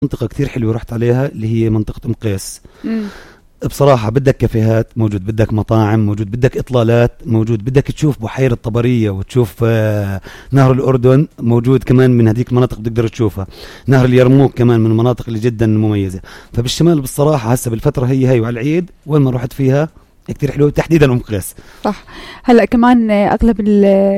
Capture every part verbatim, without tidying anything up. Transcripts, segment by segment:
منطقة كتير حلوة رحت عليها اللي هي منطقة أم قيس. مم. بصراحة بدك كافيهات موجود، بدك مطاعم موجود، بدك إطلالات موجود، بدك تشوف بحيرة طبرية وتشوف آه نهر الأردن موجود كمان، من هذيك المناطق بتقدر تشوفها. نهر اليرموك كمان من المناطق اللي جدا مميزة. فبالشمال بالصراحة هسه بالفترة هي هاي وعلى العيد وين ما رحت فيها كتير حلوة، تحديدا أم قيس. صح. هلأ كمان أغلب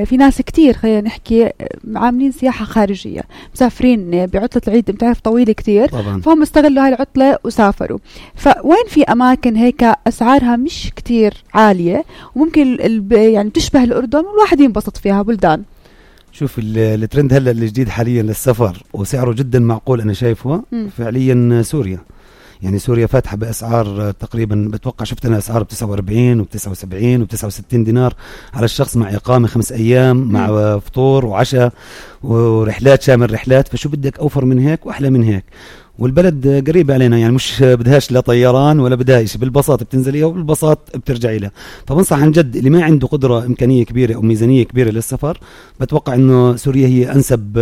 في ناس كتير خلينا نحكي عاملين سياحة خارجية، مسافرين بعطلة العيد بتعرف طويلة كتير طبعا. فهم استغلوا هاي العطلة وسافروا. فوين في أماكن هيك أسعارها مش كتير عالية وممكن يعني تشبه الأردن والواحد ينبسط فيها بلدان؟ شوف الترند هلا الجديد حاليا للسفر وسعره جدا معقول أنا شايفه م. فعليا سوريا. يعني سوريا فاتحة بأسعار تقريبا بتوقع شفت أنا أسعار بتسعة وأربعين وبتسعة وسبعين وبتسعة وستين دينار على الشخص مع إقامة خمس أيام مع م. فطور وعشاء ورحلات شامل رحلات. فشو بدك أوفر من هيك وأحلى من هيك، والبلد قريبة علينا، يعني مش بدهاش لا طيران ولا بدها شيء، بالبساط بتنزليها وبالبساط بترجعي لها. فبنصح عن جد اللي ما عنده قدرة إمكانية كبيرة أو ميزانية كبيرة للسفر بتوقع إنه سوريا هي أنسب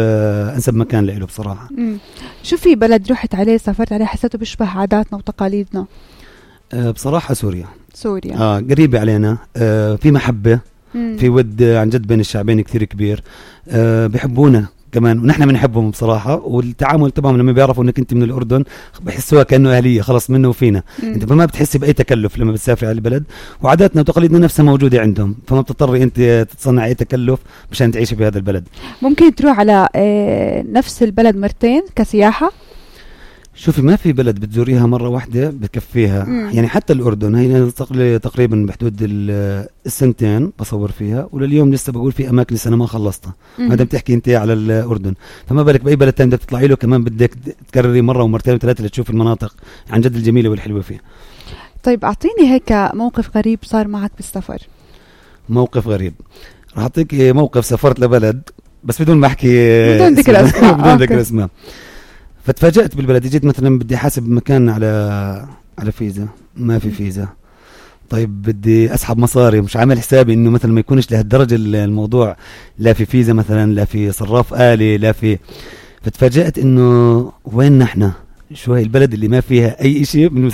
أنسب مكان له بصراحة. مم. شو في بلد رحت عليه سافرت عليه حسيته بيشبه عاداتنا وتقاليدنا؟ أه بصراحة سوريا. سوريا آه قريبة علينا، أه في محبة، مم. في ود عن جد بين الشعبين كثير كبير، أه بيحبونا كمان ونحن بنحبهم بصراحة. والتعامل تبعهم لما بيعرفوا انك انت من الأردن بحسوها كأنه أهلية خلص منه وفينا. مم. انت ما بتحسي بأي تكلف لما بتسافري على البلد، وعاداتنا وتقاليدنا نفسها موجودة عندهم، فما بتضطري انت تتصنع اي تكلف مشان تعيشي في هذا البلد. ممكن تروح على اه نفس البلد مرتين كسياحة؟ شوفي ما في بلد بتزوريها مرة واحدة بكفيها. مم. يعني حتى الأردن هي تقريبا بحدود السنتين بصور فيها، ولليوم لسه بقول في أماكن لسه أنا ما خلصتها ما دام تحكي أنت على الأردن. فما بالك بأي بلد تاني بدك تطلعي له كمان بدك تكرري مرة ومرتين وثلاثة لتشوف المناطق عن جد الجميلة والحلوة فيها. طيب أعطيني هيك موقف غريب صار معك بالسفر. موقف غريب راح أعطيك موقف. سافرت لبلد بس بدون ما أحكي بدون ذكر اسماء بدون ذكر اسماء. فتفاجأت بالبلد، جيت مثلا بدي حاسب مكان على على فيزا، ما في فيزا. طيب بدي اسحب مصاري، مش عامل حسابي انه مثلا ما يكونش لهالدرجه الموضوع، لا في فيزا مثلا، لا في صراف آلي، لا في. فتفاجأت انه وين نحن، شو هي البلد اللي ما فيها اي شيء.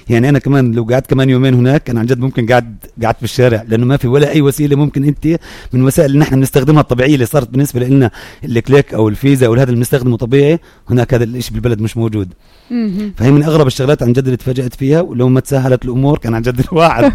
يعني انا كمان لو قعدت كمان يومين هناك انا عن جد ممكن قاعد قاعد في الشارع، لانه ما في ولا اي وسيله ممكن انت من وسائل اللي نحن بنستخدمها الطبيعيه اللي صارت بالنسبه لنا الكليك او الفيزا او هذا اللي بنستخدمه طبيعي، هناك هذا الشيء بالبلد مش موجود. فهي من اغرب الشغلات عن جد اللي تفاجأت فيها، ولو ما تسهلت الامور كان عن جد الواحد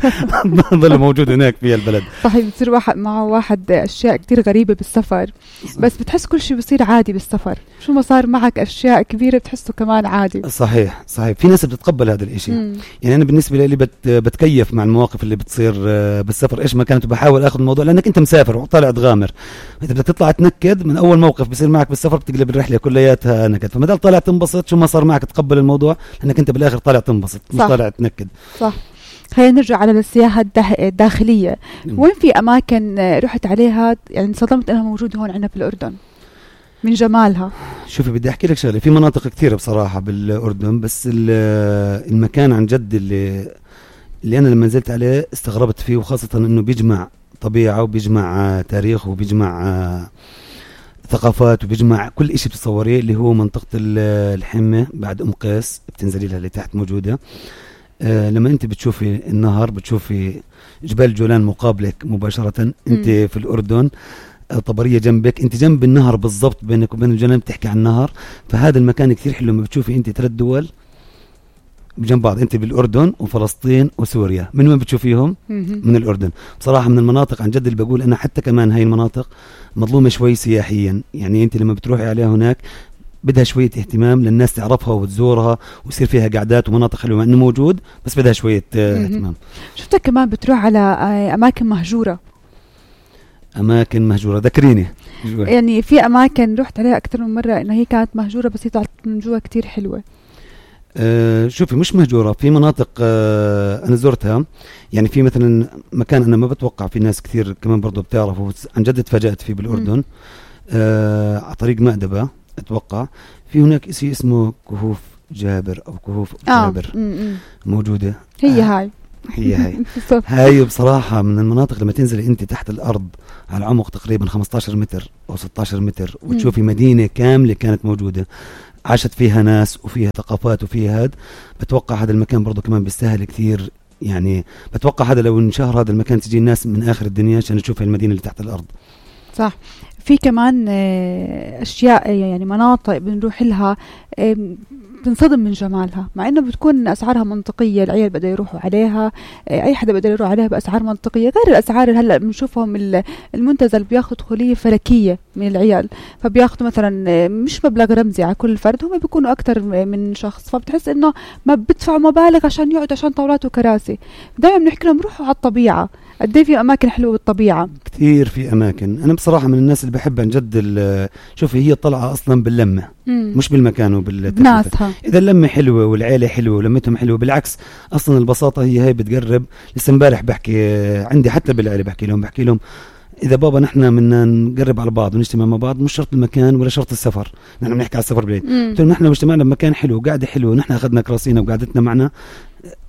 ضل موجود هناك في البلد. صحيح بتصير واحد معه واحد اشياء كتير غريبه بالسفر، بس بتحس كل شيء بصير عادي بالسفر، شو ما صار معك اشياء كبيره بتحسه كمان عادي. صحيح صحيح في ناس بتتقبل هذا الاشي. مم. يعني انا بالنسبه لي بت بتكيف مع المواقف اللي بتصير بالسفر ايش ما كانت، بحاول اخذ الموضوع لانك انت مسافر وطالع تغامر. انت بدك تطلع تنكد من اول موقف بيصير معك بالسفر بتقلب الرحله كلياتها نكد، فما دام طالع تنبسط شو ما صار معك تقبل الموضوع لانك انت بالاخر طالع تنبسط مش طالع تنكد. صح. خلينا نرجع على السياحه الداخليه. مم. وين في اماكن رحت عليها يعني انصدمت انها موجوده هون عندنا في الاردن من جمالها؟ شوفي بدي احكي لك شغله، في مناطق كثيره بصراحه بالاردن، بس المكان عن جد اللي اللي انا لما نزلت عليه استغربت فيه، وخاصه انه بيجمع طبيعه وبيجمع تاريخ وبيجمع ثقافات وبيجمع كل إشي بتصوريه، اللي هو منطقه الحمه بعد ام قيس بتنزلي لها اللي تحت موجوده. آه لما انت بتشوفي النهر بتشوفي جبال الجولان مقابلك مباشره، انت م. في الاردن طبرية جنبك، انت جنب النهر بالضبط، بينك وبين الجنوب بتحكي عن النهر. فهذا المكان كثير حلو لما بتشوفي انت ثلاث دول بجنب بعض، انت بالاردن وفلسطين وسوريا. من وين بتشوفيهم؟ من الاردن. بصراحه من المناطق عن جد اللي بقول انا حتى كمان هاي المناطق مظلومه شوي سياحيا، يعني انت لما بتروحي عليها هناك بدها شويه اهتمام للناس تعرفها وتزورها ويصير فيها قعدات ومناطق حلوه مع انه موجود، بس بدها شويه اهتمام. شفتك كمان بتروح على اماكن مهجوره. أماكن مهجورة ذكريني. يعني في أماكن رحت عليها أكثر من مرة إنها هي كانت مهجورة بس هي طلعت من جوا كتير حلوة. أه شوفي مش مهجورة، في مناطق أه أنا زرتها، يعني في مثلا مكان أنا ما بتوقع في ناس كثير كمان برضو بتعرفوا عن جد تفاجأت فيه بالأردن. أه على طريق مأدبة أتوقع في هناك شيء اسمه كهوف جابر أو كهوف آه. جابر م -م. موجودة هي هاي هي هي هاي بصراحة من المناطق لما تنزلي انت تحت الارض على عمق تقريبا خمستاشر متر او ستاشر متر وتشوفي مدينة كاملة كانت موجودة عاشت فيها ناس وفيها ثقافات وفيها هاد، بتوقع هذا المكان برضو كمان بيستاهل كثير. يعني بتوقع هذا لو انشهر هذا المكان تجي الناس من آخر الدنيا عشان تشوف المدينة اللي تحت الأرض. صح. في كمان أشياء يعني مناطق بنروح لها بنصدم من جمالها، مع انه بتكون اسعارها منطقيه، العيال بدأوا يروحوا عليها، اي حدا بده يروح عليها باسعار منطقيه، غير الاسعار اللي هلا بنشوفهم المنتزه اللي بياخذوا دخوليه فلكيه من العيال، فبياخذوا مثلا مش مبلغ رمزي على كل فرد، هم بيكونوا اكثر من شخص، فبتحس انه ما بدفعوا مبالغ عشان يقعدوا عشان طاولات وكراسي. دائما بنحكي لهم روحوا على الطبيعه، قد ايه في اماكن حلوه بالطبيعه كثير. في اماكن انا بصراحه من الناس اللي بحب عن جد، شوفي هي الطلعه اصلا باللمه مم. مش بالمكان وبالناسها. اذا اللمه حلوه والعيله حلوه ولمتهم حلوه، بالعكس اصلا البساطه هي هي بتقرب. لسه امبارح بحكي عندي حتى بالعيله، بحكي لهم بحكي لهم اذا بابا نحن بدنا نقرب على بعض ونجتمع مع بعض، مش شرط المكان ولا شرط السفر، نحن بنحكي على السفر بالعيد، قلت لهم نحن لو اجتمعنا بمكان حلو وقعده حلوه ونحن اخذنا كراسينا وقعدتنا معنا،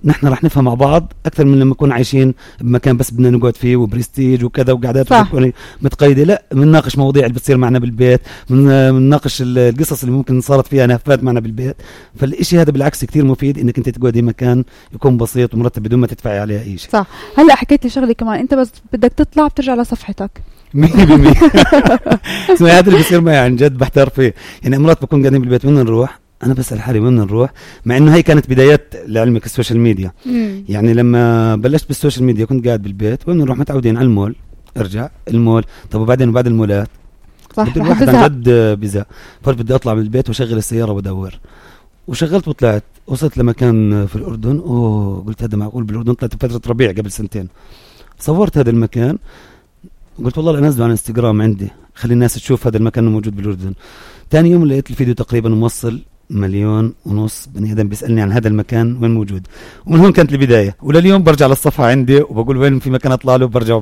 نحن رح نفهم مع بعض اكثر من لما نكون عايشين بمكان بس بدنا نقعد فيه وبرستيج وكذا وقعدات متقيده. لا، بنناقش مواضيع اللي بتصير معنا بالبيت، بنناقش القصص اللي ممكن صارت فيها نهفات معنا بالبيت. فالشيء هذا بالعكس كثير مفيد، انك انت تقعدي مكان يكون بسيط ومرتب بدون ما تدفعي عليه اي شيء. صح. هلا حكيت لي شغله كمان، انت بس بدك تطلع بترجع لصفحتك مية بالمية. اسمعي هذا اللي بيصير معي عن جد بحتار فيه. يعني مرات بكون قاعدين بالبيت وين نروح، انا بسأل حالي وين نروح، مع انه هي كانت بدايات لعلمك السوشيال ميديا. مم. يعني لما بلشت بالسوشيال ميديا كنت قاعد بالبيت، وين نروح متعودين على المول، ارجع المول، طب وبعدين وبعد المولات بدي الواحد عن جد بزهق، فبدي اطلع من البيت واشغل السياره وادور، وشغلت وطلعت، وصلت لمكان في الاردن. اوه قلت هذا معقول بالأردن؟ طلعت بفترة ربيع قبل سنتين، صورت هذا المكان، قلت والله انزله على انستغرام عندي خلي الناس تشوف هذا المكان موجود بالاردن. ثاني يوم لقيت الفيديو تقريبا موصل مليون ونص بني ادم بيسالني عن هذا المكان وين موجود، ومن هون كانت البدايه. ولليوم برجع للصفحه عندي وبقول وين في مكان اطلع له، برجع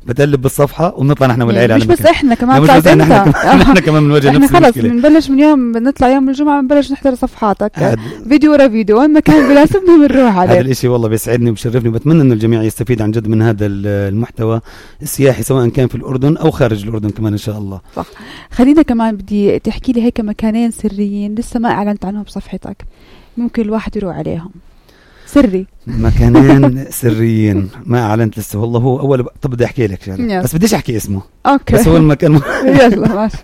بتقلب بالصفحه وبنطلع نحن والعيله على مش بس احنا كمان، مش بس احنا كمان نحن كمان بنواجه نفس المشكله. احنا خلص بنبلش من يوم بنطلع يوم الجمعه بنبلش نحضر صفحاتك فيديو ورا فيديو، وين مكان بناسبنا بنروح عليه. هذا الشيء والله بيسعدني وبشرفني، وبتمنى انه الجميع يستفيد عن جد من هذا المحتوى السياحي سواء كان في الاردن او خارج الاردن كمان ان شاء الله. صح. خلينا كمان بدي تحكي لي هيك مكانين سريين لسه ما اعلنت عنهم بصفحتك، ممكن الواحد يروح عليهم سري. مكانين سريين ما اعلنت لسه والله. هو اول ب... طب بدي احكي لك شغله بس بديش احكي اسمه. اوكي. بس هو المكان م... يلا ماشي.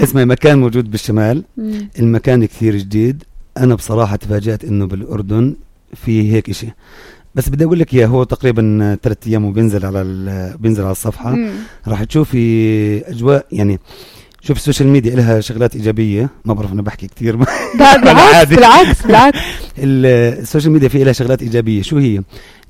اسمه مكان موجود بالشمال. مم. المكان كثير جديد، انا بصراحه تفاجأت انه بالاردن في هيك اشي، بس بدي اقول لك اياه. هو تقريبا ثلاث ايام وبينزل على ال... بينزل على الصفحه. مم. راح تشوفي اجواء، يعني شوف السوشيال ميديا لها شغلات إيجابية، ما بعرف أنا بحكي كتير بالعكس بالعكس بالعكس السوشيال ميديا فيها لها شغلات إيجابية. شو هي؟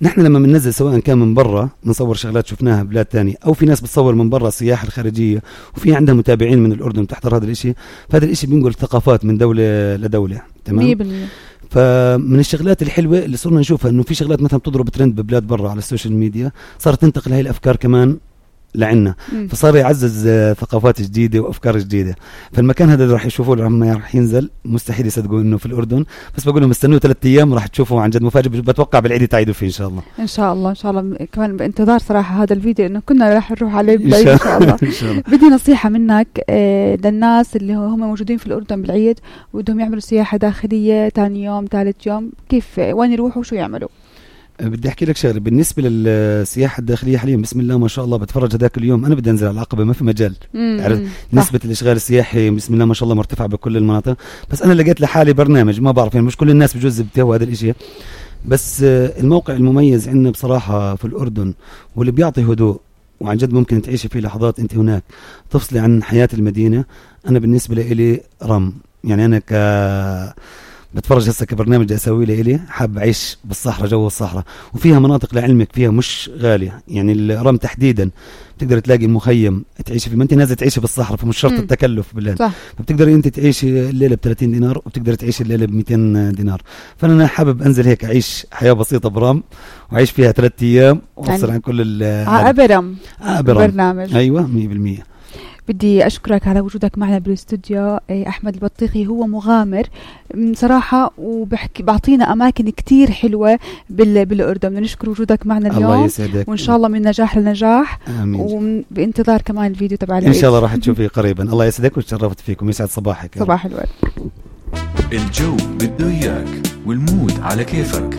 نحن لما بننزل سواء كان من برا بنصور شغلات شفناها بلاد تانية، أو في ناس بتصور من برا السياحة الخارجية وفي عندها متابعين من الأردن بتحضر هذا الإشي، فهذا الإشي بينقل ثقافات من دولة لدولة. تمام. مية بالمية. فمن الشغلات الحلوة اللي صرنا نشوفها إنه في شغلات مثلا بتضرب ترند ببلاد برا على السوشيال ميديا، صارت تنتقل هاي الأفكار كمان لعنا، فصار يعزز ثقافات جديدة وأفكار جديدة. فالمكان هذا اللي راح يشوفوه لما راح ينزل مستحيل يصدقوا إنه في الأردن، بس بقول لهم استنوا ثلاث أيام راح تشوفوا عن جد مفاجئ. بتوقع بالعيد تعيدوا فيه إن شاء الله. إن شاء الله إن شاء الله. كمان بانتظار صراحة هذا الفيديو إنه كنا راح نروح عليه بالعيد إن شاء الله. إن شاء الله. بدي نصيحة منك آه للناس اللي هم موجودين في الأردن بالعيد ودهم يعملوا سياحة داخلية ثاني يوم ثالث يوم، كيف وين يروحوا وشو يعملوا؟ بدي احكي لك شغله بالنسبه للسياحه الداخليه حاليا بسم الله ما شاء الله. بتفرج هذاك اليوم انا بدي انزل على العقبه ما في مجال، عرفت نسبه الاشغال السياحي بسم الله ما شاء الله مرتفعه بكل المناطق، بس انا لقيت لحالي برنامج ما بعرف يعني مش كل الناس بجوز بتهوى هذا الاشي، بس الموقع المميز عندنا بصراحه في الاردن واللي بيعطي هدوء وعن جد ممكن تعيشي فيه لحظات انت هناك تفصلي عن حياه المدينه. انا بالنسبه لي رم، يعني انا ك بتفرج هسه كبرنامج اسوي لي إلي حاب اعيش بالصحراء، جو الصحراء، وفيها مناطق لعلمك فيها مش غاليه، يعني الرم تحديدا بتقدر تلاقي مخيم تعيشي فيه، ما انت نازل تعيشي بالصحراء فمش شرط التكلف بالله، فبتقدري انت تعيشي الليله ب ثلاثين دينار وبتقدر تعيشي الليله ب مئتين دينار. فانا حابب انزل هيك اعيش حياه بسيطه برم واعيش فيها ثلاث ايام وافصل يعني عن كل عابرم عابرم برنامج. ايوه مية بالمية. بدي أشكرك على وجودك معنا بالاستوديو. أحمد البطيخي هو مغامر صراحة، وبحكي بعطينا أماكن كتير حلوة بالأردن. بدنا نشكر وجودك معنا اليوم، الله يسعدك، وإن شاء الله من نجاح لنجاح. آمين. وبانتظار كمان الفيديو تبع إن شاء الله راح تشوفيه قريبا. الله يسعدك وتشرفت فيكم، يسعد صباحك. صباح الورد. الجو بده إياك والمود على كيفك.